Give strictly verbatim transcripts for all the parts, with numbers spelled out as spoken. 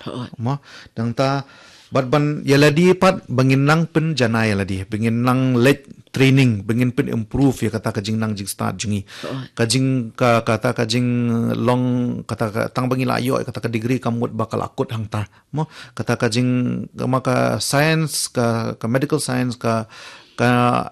Hooid. Mo, nangta, bad ban ïa lade pat, ba ngin nang pynjanai ïa lade, ba ngin nang leh training, ba ngin pyn improve ïa kata ka jingnang jingstad jong ngi. Hooid. Ka jing, ka, kata ka jinglong, kata ka, tang ba ngi la ïoh, kata ka degree kam mut ba ka la kut hangta. Mo, kata ka jing, ka ma ka science, ka, ka medical science, ka, ka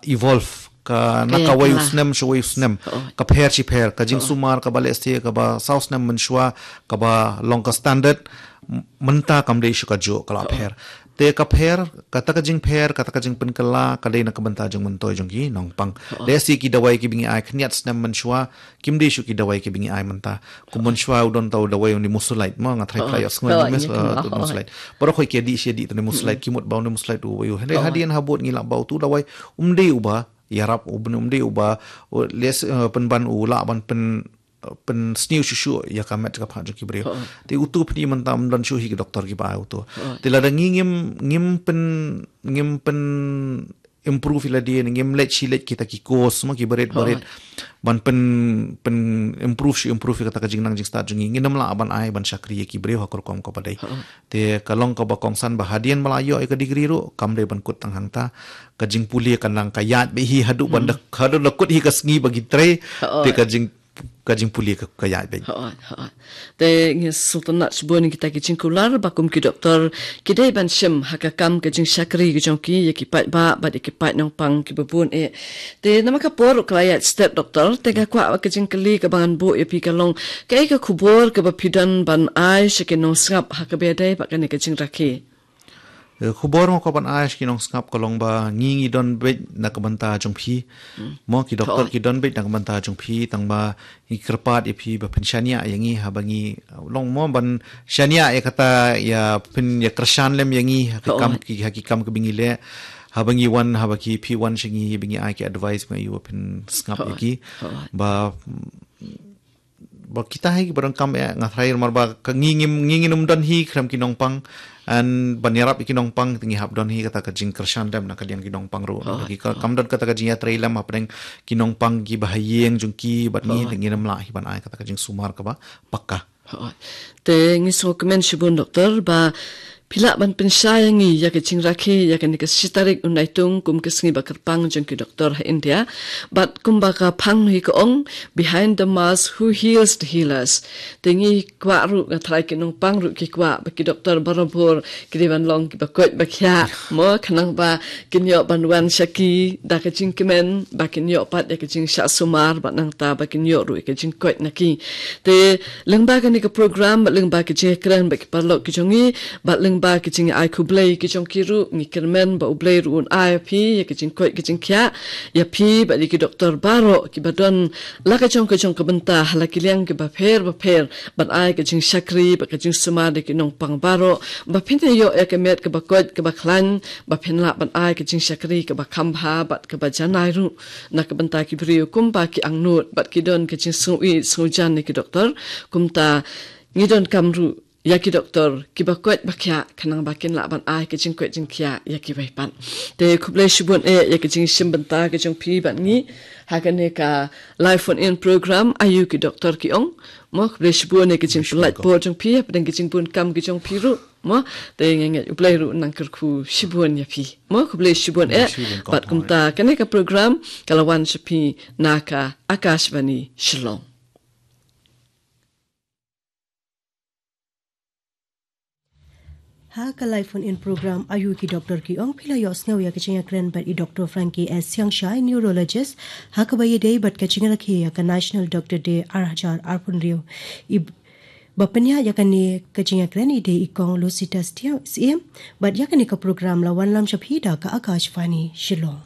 evolve, ka na Ka ïa kawei u kylla. snem, sha wei u snem, Hooid. ka pher shi pher, ka Hooid. jingsumar, kaba lehse, kaba saw snem mynshuwa, kaba long ka standard, m-, mynta kam dei shu kajuh, ka la Hooid. pher. Te ka pher, kata ka jingpher, kata ka jingpynkylla, ka dei na ka bynta jong myntoi jong ki nongpang. Hooid. Lehse ki dawai kiba ngi ai khyndiat snem mynshuwa, kim dei shu ki dawai kiba ngi ai mynta. Kum mynshuwa u don tau dawai u nimesulide, mo, nga thrang Hooid. ïa sngew Hooid, nimes-, ïa eh, kynmaw, tu hooid. nimesulide. Baroh khoit ki ïa dih, ïa dih tu nimesulide, Mm. ki mut ba u nimesulide u wei u. Hynrei Hooid. hadien ha bud ngi lah ba utu u dawai, um dei uba ïarap, um dei uba, u les, eh, pynban u lah ban pyn, eh, pynsniew shuh shuh ïa ka met ka phad jong ki briew. Hooid. Te utu pyni mynta ym don shuh hi ki doktor kiba ai utu. Hooid. Te lada ngi ngim, ngim pyn, ngim pyn improve ïa lade, ngim leh shi leh kita ki course, mo, kiba rit, ba rit. Hooid. Ban pyn, pyn improve shuh, improve ïa kata ka jingnang jingstad jong ngi. Ngin ym lah ban ai, ban shakri ïa ki briew ha ka rukom kaba dei. Hooid. Te ka long kaba kongsan ba hadien ba la ïoh ïa ka degree ruh, kam dei ban kut tang hangta. Ka jingpule ka nang ka ïaid beit hi haduh ban Hmm. da, haduh da kut hi ka sngi ba ki trei. Hooid. Te ka jing, ka jingpule ka, ka ïaid beit. Hooid, hooid. Te ngi sngewtynnat shibun ïa kita ki jingkular ba kum ki doktor ki dei ban shim ha ka kam ka jingshakri ka jong ki ïa ki paidbah bad ïa ki paid nongpang kiba bun eh. Te namar ka por ka la ïaid stet doktor, te nga kwah ka jingkylli kaba ngan buh ïa phi ka long, kaei ka khubor kaba phi don ban ai sha ki nongsngap ha kaba ïadei bad kane ka jingrakhe? Eh, khubor nga kwah ban ai sha ki nongsngap ka long ba ngi ngi don beit na ka bynta jong phi. Hmm. Mo, ki doktor Hooid. ki don beit na ka bynta jong phi, tang ba ngi kyrpad ïa phi ba phin shaniah ïa ngi haba ngi, eh, long mo ban shaniah ïa kata ïa phin ïa kyrshan lem ïa ngi ha ki kam Hooid. ki, ha ki kam kiba ngi leh. Haba ngi wan, haba ki phi wan sha ngi ba ngi ai ki advice ma ïa phin sngap ïa Hooid. ki. Hooid. Ba, mm, ba kita hi kiba donkam eh, nga tharai namar ba ka ngi ngim, ngi ngin ym don hi khlem ki nongpang, and ban ïarap ïa ki nongpang te ngi hap don hi kata ka jingkyrshan lem na ka liang ki nongpang ruh. Hooid. Ki ka, kam don kata ka jingïatrei lem hapdeng ki nongpang kiba ha ïing jong ki bad ngi, Hooid. te ngin ym lah hi ban ai kata ka jingsumar kaba pakka. Hooid. Te ngi sngewkmen shibun doktor ba phi lah ban pynshai ïa ngi ïa ka jingrakhe ïa kane ka shi tarik u Naitung kum ka sngi ba kyrpang jong ki doktor ha India. Bad kumba ka phang hi ka ong, "Behind the mask, who heals the healers?" Te ngi kwah ruh, nga tharai ki nongpang ruh ki kwah ba ki doktor barabor ki dei ban long kiba koit ba khiah. Mo, khnang ba kin ïoh ban wan sha ki da ka jingkmen, ba kin ïoh pat ïa ka jingshah sumar, bad nangta ba kin ïoh ruh ïa ka jingkoit na ki. Te lyngba kane ka program, bad lyngba ka jingkren bad ki paralok ki jong ngi, bad lyngba ka jingai khublei ki jong ki ruh, ngi kyrmen ba U Blei ruh un ai ïa phi ïa ka jingkoit ka jingkhiah ïa phi bad ïa ki doktor baroh kiba don la ka jong ka jong ka bynta ha la ki liang kiba pher ba pher, ban ai ka jingshakri bad ka jingsumar ïa ki nongpang baroh, ba phin ïoh ïa ka met kaba koit kaba khlaiñ, ba phin lah ban ai ka jingshakri kaba kham bha bad kaba janai ruh na ka bynta ki briew kumba ki angnud bad ki don ka jingsngewieit sngewjan ïa ki doktor. Kumta ngi donkam ruh ïa ki doktor kiba koit ba khiah, khnang ba kin lah ban ai ka jingkoit jingkhiah ïa kiwei pat. Te khublei shibun eh ïa ka jingshim bynta ka jong phi bad ngi ha kane ka live phone in program Aïu ki Doktor ki Ong. Mo, khublei shibun ïa ka jingpyllait por jong phi hapdeng ka jingbun kam ka jong phi ruh. Mo, te nga ngeit U Blei ruh un nang kyrkhu shibun ïa phi. Mo, khublei shibun eh. Bad kumta kane ka program ka la wan sha phi na ka Akashvani Shillong. Ha ka live phone in program Aïu ki Doktor ki Ong, phi la ïohsngew ïa ka jingïakren bad i Doktor Frankie S Siangshai, neurologist, ha kaba ïadei bad ka jingrakhe ïa ka National Doctor Day ar hajar arphew hynriew. I ba pynïaid ïa kane ka jingïakren i dei i Kong Lucita Syiem, bad ïa kane ka program la wanlam sha phi da ka Akashvani Shillong.